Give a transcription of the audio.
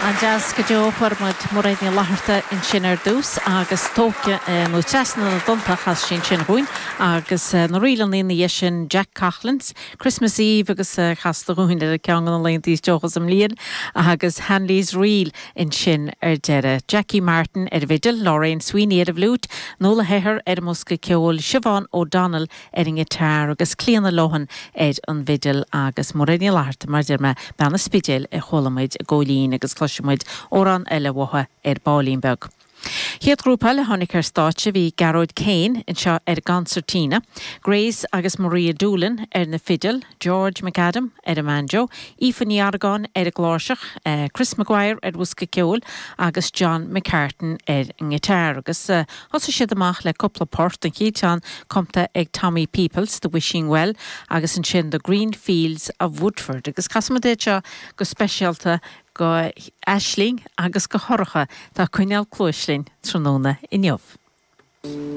An-deas go deo. Fuair muid Mairéad Ní Fhlatharta ansin ar dtús agus Tóite nó Trasna na dTonnta a chas sí ansin dhúinn agus na ríleanna ina dhiaidh sin Jack Coughlan's Christmas Eve agus casta dhúinn ar ceann de na laethanta is deocha sa mbliain agus Hanley's Reel ansin ar deireadh. Jackie Martin ar an bhfidil, Lorraine Sweeney ar an bhfliúit, Nuala Hehir ar an mbosca ceoil, Siobhán O'Donnell ar an ngiotár agus Clíona Lohan ar an bhfidil agus Mairéad Ní Fhlatharta, mar a deir mé, bean an Spidéil a chuala muid i gcóilín agus cloisfidh muid amhrán eile uaithi ar baillín beag. Chéad ghrúpa eile a tháinig ar stáitse bhí Gearóid Kane anseo ar an gconsairtín, Grace agus Maria Doolan ar na fidil, George McAdam ar an mbanjo, Aoife Ní Argáin ar an gcláirseach, Chris Maguire ar bhosca ceoil agus John McCartan ar an ngiotár agus Thosaigh siad amach le cúpla port, an chéad cheann cumtha ag Tommy Peoples, The Wishing Well, agus ansin The Green Fields of Woodford. Agus casfaidh muid iad seo go speisialta go Aisling agus go Shorcha atá ag coinneáil cluais linn tráthnóna inniu.